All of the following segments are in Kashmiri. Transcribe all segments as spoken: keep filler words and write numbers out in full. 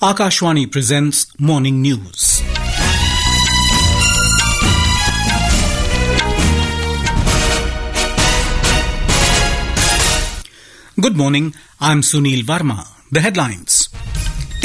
Akashvani presents morning news. Good morning, I'm Sunil Verma. The headlines.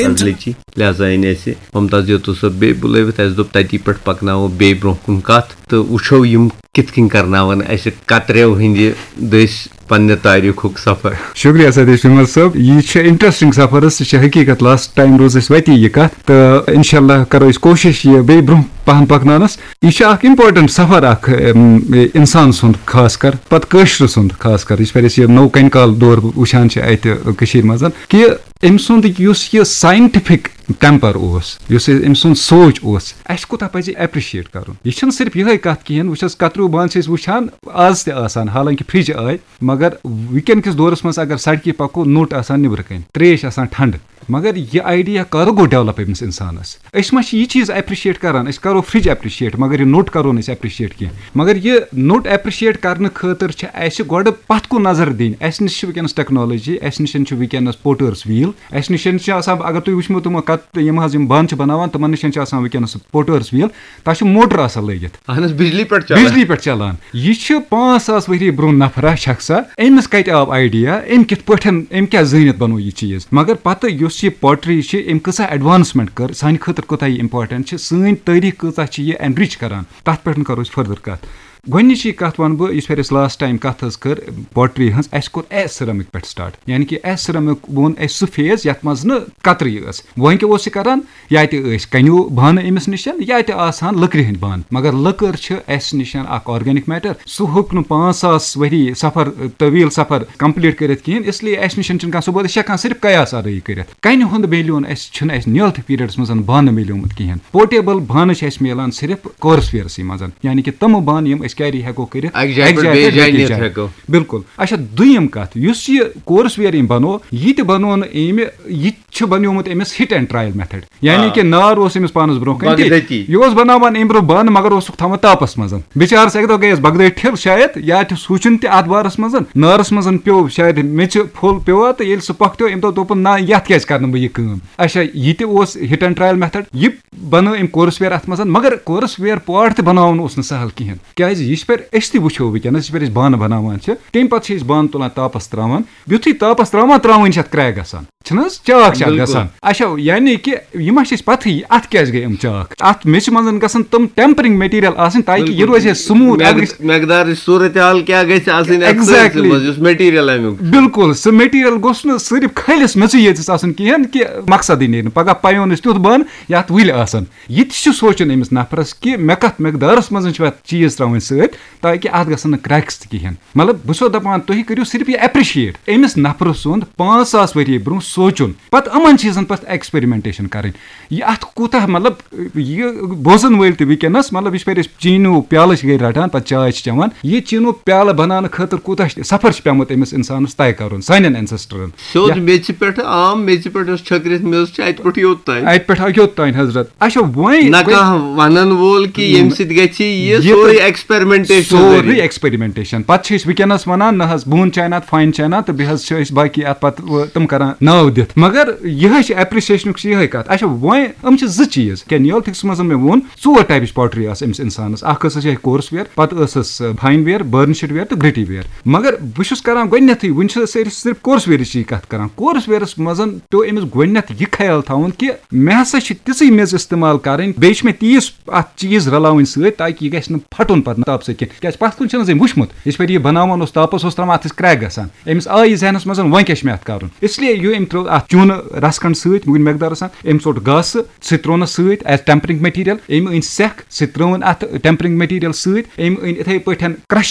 Inter- فضلٕچی۔ لہذا أنۍ اَسہِ ممتاز یوتوٗ صٲب بیٚیہِ بُلٲوِتھ، اَسہِ دوٚپ تَتی پٮ۪ٹھ پَکناوو بیٚیہِ برٛونٛہہ کُن کَتھ تہٕ وٕچھو یِم کِتھ کٔنۍ کَرناوَن اَسہِ کترٮ۪و ہٕنٛدِ دٔسۍ پننہِ تٲریٖخُک سفر۔ شُکریہ ستیش وِمل صٲب، یہِ چھِ انٹرسٹنگ سفر حظ، سُہ چھِ حقیٖقت۔ لاسٹ ٹایم روٗز اَسہِ وَتی یہِ کَتھ، تہٕ انشاءاللہ کَرو أسۍ کوٗشِش یہِ بیٚیہِ برٛونٛہہ پَہَن پَکناونَس۔ یہِ چھُ اَکھ امپورٹنٹ سفر اَکھ، اِم، اِنسان سُنٛد خاص کر، پَتہٕ کٲشرِ سُنٛد خاص کر، یِتھ پٲٹھۍ أسۍ یہِ نوٚو کَنہِ کال دور وٕچھان چھِ اَتہِ کٔشیٖرِ منٛز، کہِ أمۍ سُنٛد یُس یہِ ساینٹِفِک ٹیمپر اوس، یُس أمۍ سُنٛد سونٛچ اوس، اَسہِ کوٗتاہ پَزِ ایپرِشیٹ کَرُن۔ یہِ چھَنہٕ صرف یِہے کَتھ کِہیٖنۍ، وٕچھ حظ، کَتریوٗ بانہٕ چھِ أسۍ وٕچھان آز تہِ آسان، حالانکہِ فرج آے، مگر وٕنکیٚن کِس دورَس منٛز اگر سڑکہِ پَکو، نوٚٹ آسان نیٚبرٕ کَنۍ، ترٛیش آسان ٹھنڈٕ۔ مگر یہِ آیڈیا کَر گوٚو ڈیولپ أمِس اِنسانَس؟ أسۍ ما چھِ یہِ چیٖز ایپرِشیٹ کَران؟ أسۍ کَرو فرج ایپرِشیٹ، مگر یہِ نوٚٹ کَرو نہٕ أسۍ ایپرِشیٹ کینٛہہ۔ مگر یہِ نوٚٹ ایپرِشیٹ کَرنہٕ خٲطرٕ چھِ اَسہِ گۄڈٕ پَتھ کُن نظر دِنۍ۔ اَسہِ نِش چھِ وٕنکیٚنَس ٹیکنالوجی، اَسہِ نِش چھُ وٕنکیٚنَس پوٹٲرٕس ویٖل، اَسہِ نِش چھِ آسان، اگر تُہۍ وٕچھمو تِمو کَتھ، یِم حظ یِم بانہٕ چھِ بَناوان، تِمَن نِش چھِ آسان وٕنکیٚنَس پوٹٲرٕس ویٖل، تَتھ چھُ موٹر آسان لٲگِتھ۔ اہن حظ، بجلی پٮ۪ٹھ چلان۔ بجلی پٮ۪ٹھ چلان۔ یہِ چھِ پانٛژھ ساس ؤری برٛونٛہہ نفرا شخصا، أمِس کتہِ آو آیڈیا، أمۍ کِتھ پٲٹھۍ، أمۍ کیٛاہ زٲنِتھ بنوو یہِ چیٖز؟ مگر پتہٕ یُس یہِ پوٹری چھِ، أمۍ کۭژاہ ایڈوانسمنٹ کٔر، سانہِ خٲطرٕ کوٗتاہ یہِ امپورٹنٹ چھِ، سٲنۍ تٲریٖخ کۭژاہ چھِ یہِ انرچ کران، تتھ پٮ۪ٹھ کرو أسۍ فردر کتھ۔ گۄڈٕنِچی کتھ ونہٕ بہٕ، یُس پھِرِ أسۍ لاسٹ ٹایم کتھ حظ کٔر پوٹری ہٕنٛز، اسہِ کوٚر ایس سرمک پٮ۪ٹھ سٹارٹ، یعنی کہِ ایس سرمک ووٚن اسہِ سُہ فیز یتھ منٛز نہٕ کترٕے ٲس۔ وۄنۍ کیٛاہ اوس یہِ کران؟ یا تہِ ٲسۍ کنیو بانہٕ أمِس نِش، یا تہِ آسان لٔکرِ ہٕنٛدۍ بانہٕ، مگر لٔکٕر چھِ اَسہِ نِش اکھ آرگینک میٹر، سُہ ہیوٚک نہٕ پانٛژھ ساس ؤری سفر، طویل سفر کمپلیٹ کٔرِتھ کِہیٖنۍ، اس لیے اَسہِ نِش چھِنہٕ کانٛہہ ثبوت، أسۍ چھِ ہٮ۪کان صرف قیاس آرٲیی کٔرِتھ۔ کنہِ ہُنٛد میلیون اَسہِ چھُنہٕ اَسہِ نیولتھٕ پیریڈس منٛز بانہٕ میلیومُت کِہیٖنۍ۔ پورٹیبل بانہٕ چھِ اَسہِ میلان صرف کورس ویئرسٕے منٛز، یعنی کہِ تِمہٕ بانہٕ یِم أسۍ کیری ہٮ۪کو کٔرِتھ اَکہِ جایہِ اَکہِ پٮ۪ٹھ جایہِ بیٚیہِ پٮ۪ٹھ جایہِ بیٚکِس نِتھ جایہِ۔ ہٮ۪کو۔ بِلکُل۔ اچھا، دوٚیِم کَتھ، یُس یہِ کورس ویئر أمۍ بنوو، یہِ تہِ بنوو نہٕ أمۍ، یہِ چھُ بنیومُت أمِس ہِٹ اینڈ ٹرایل میتھڈ، یعنی آ۔ کہِ نار اوس أمِس پانس برونٛہہ کنہِ تہِ۔ بغدٲتی۔ یہِ اوس بناوان أمۍ برونٛہہ بانہٕ، مگر اوسُکھ تھاوان تاپس منٛز۔ بِچارس اکہِ دۄہ گٔیس بغدٲدۍ ٹھِل شاید، یا تہِ سوٗنٛچُن تہِ اتھ بارس منٛز، نارس منٛز پیوٚو شاید میٚژِ پھوٚل پیوٚو تہٕ ییٚلہِ سُہ پۄکھتیو، أمۍ دوٚپ، دوٚپُن، نہ، یتھ کیازِ کرٕ نہٕ بہٕ یہِ کٲم؟ اچھا، یہِ تہِ اوس ہِٹ اینڈ ٹرایل میتھڈ، یہِ بنٲو أمۍ کورس ویئر اتھ منٛز، مگر کورس ویئر پاٹ تہِ بناوُن اوس نہٕ سہل کِہینۍ، کیازِ یہِ چھِ پھِرِ أسۍ تہِ وٕچھو وٕنکیٚنس، یہِ چھِ پھِرِ أسۍ بانہٕ بناوان چھِ، تمہِ پتہٕ چھِ أسۍ بانہٕ تُلان تاپس تراوان، یُتھُے تاپس تراوان تراوان چھِ اتھ کریک گژھان، چھِنہٕ حظ؟ چاک چھِ اتھ بِلکُل۔ گژھان۔ اچھا، یعنی کہِ یہِ ما چھِ أسۍ پتہٕے، اتھ کیازِ گٔے یِم چاک؟ اتھ میٚژِ منٛز گژھن تِم ٹیمپرنگ میٹیریل آسٕنۍ، تاکہِ یہِ بِلکُل۔ روزِ ہے سموٗتھ۔ مقد-، مقدارٕچ صورت حال کیٛاہ گژھِ آسٕنۍ اتھ Exactly۔ سٲرسٕے منٛز، یُس میٹیریل امیُک چھُ۔ بِلکُل، سُہ میٹیریل گوٚژھ نہٕ صرف کھٔلِس میٚژٕے یٲژَس آسُن کِہیٖنۍ، کہِ مقصدٕے نیرِ نہٕ۔ پگاہ پَیون أسۍ تیُتھ بانہٕ یتھ وٕلۍ آسن۔ یہِ تہِ چھُ سونٛچُن أمِس نفرس کہِ مےٚ کتھ مقدارس منٛز چھِ اتھ چیٖز تراوٕنۍ سۭتۍ، تاکہِ اتھ گژھن نہٕ کریکس تہِ کِہیٖنۍ۔ مطلب، بہٕ چھُسو دپان، تُہۍ کٔرِو صرف یہِ ایپرِشیٹ أمِس نفرٕ سُنٛد پانٛژھ ساس ؤری برونٛہہ سونٛچُن، پتہٕ یِمن چیٖزن پٮ۪ٹھ ایکسپیرمنٹیشن کرٕنۍ۔ یہِ اتھ کوٗتاہ، مطلب، یہِ بوزن وٲلۍ تہِ وٕنکیٚنس، مطلب، یِتھ پٲٹھۍ أسۍ چیٖنو پیالہٕ چھِ گرِ رٹان، پتہٕ چاے چھِ چٮ۪وان، یہِ چیٖنو پیالہٕ بناونہٕ خٲطرٕ کوٗتاہ سفر چھُ پیومُت أمِس انسانس طے کرُن، سانٮ۪ن اینسسٹرن۔ سیوٚد یتھ میٚژِ پٮ۪ٹھ، عام میٚژِ پٮ۪ٹھ یۄس چھٔکرِتھ میٚژ چھِ، اتہِ پٮ۪ٹھ یوٚت تام۔ اتہِ پٮ۪ٹھ یوٚت تام، حضرت۔ اچھا، وۄنۍ نہ وۄنۍ کانٛہہ ونن وول کہِ ییٚمہِ سۭتۍ گژھِ یہِ یہِ سورُے تہٕ ایکسپیرمنٹیشن سورُے ذٔریعہٕ۔ ایکسپیرمنٹیشن۔ پتہٕ چھِ أسۍ وٕنکیٚنس ونان، نہ حظ، بون چاینا تہٕ فاین چاینا تہٕ بیٚیہِ حظ چھِ أسۍ باقی اتھ پتہٕ، و-، تِم کران ناو دِتھ۔ مگر یِہے چھِ ایپرِشیشنُک چھِ یِہے کتھ۔ اچھا، وۄنۍ یِم چھِ زٕ چیٖز۔ کیا نیولتھکس منٛز مےٚ ووٚن، ژور ٹایپٕچ پاٹری آسہٕ أمِس انسانس۔ اکھ ٲسٕس یِہے کورس ویئر، پتہٕ ٲسٕس، آ، فاین ویئر، بٔرنشڈ ویئر تہٕ گرٹی ویئر۔ مگر بہٕ چھُس کران گۄڈٕنیتھٕے، وُنہِ چھِ أسۍ صرف کورس ویئرٕچی کتھ کران۔ کورس ویئرس منٛز پیوٚو أمِس گۄڈٕنیتھ یہِ خیال تھاوُن کہِ مےٚ ہسا چھِ تِژٕے میٚژ استعمال کرٕنۍ، بیٚیہِ چھِ مےٚ تیٖژ اتھ چیٖز رلاوٕنۍ سۭتۍ، تاکہِ یہِ گژھِ نہٕ پھٹُن پتہٕ تاپہٕ سۭتۍ کینٛہہ۔ کیازِ پتھ کُن چھُنہٕ حظ أمۍ وُچھمُت، یِتھ پٲٹھۍ یہِ بناوان اوس تاپس، اوس تراوان اتھ ٲسۍ کریک گژھان۔ أمِس آیہِ ذہنس منٛز، وۄنۍ کیٛاہ چھُ مےٚ اتھ کرُن؟ اس لیے یہِ أمۍ ترٛوو اتھ چوٗنہٕ رس کھنڈ سۭتۍ، وُنہِ مقدار آسان، أمۍ ژوٚٹ گاسہٕ، سُہ تہِ ترٛوونس سۭتۍ as tempering material۔ أمۍ أنۍ سٮ۪کھ، سُہ تہِ ترٛٲوٕن اتھ tempering material سۭتۍ۔ أمۍ أنۍ اِتھے پٲٹھۍ کرش